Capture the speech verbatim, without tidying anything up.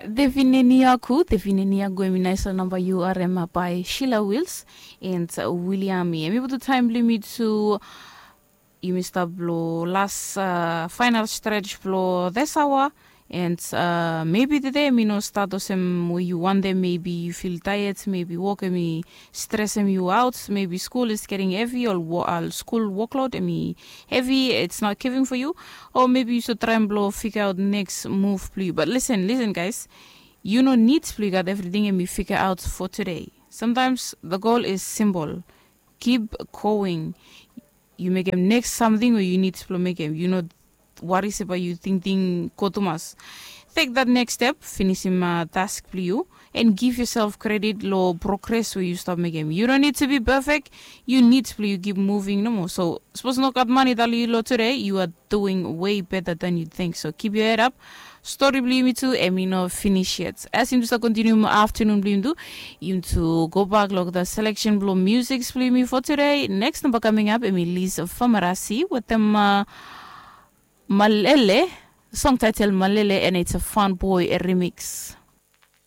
Defineniaku defineniaku em i naisla namba yu arema bai shila wils. And wiliami em i putu taim blimi tu. Yumi stap lo las fainal strets blo desawa. And mebi tude em i no stat olsem we yu wantem mebi yu fil daiet mebi wok em i stresem yu aut mebi skul is geting hevi ol skul woklod em i hevi its not giving fo yu. O mebi yu so traem blo figaot neks muv blo yu bat lisen lisen gais. Yu no nid blo yu gat evriting em i figaot fo tude. Samtaims the gol is simbol. Kip going. Yu mekem neks samting we yu nid blo mekem yu no wari se bai yu tingting go tumas. Tek dat neks step finisim task blo yu. And giv yosel kredit lo progres we yu stap mekem yu no nid tu bi pefek. Yu nid blo yu kip muving nomo so sapos no gat mani tali lo tude yu a duing wei beta dan yu ting so kip yu hed ap. Stori blo yumi tu em i no finis yet as yumi tu stap kontinium aftanun blo yumi tu. Yumi tu gobak lo olgeta seleksen blo musik blo yumi fo tude neks namba kaming ap em i lis famarasi wetem malele. Song taitel malele and its a fan boy remix.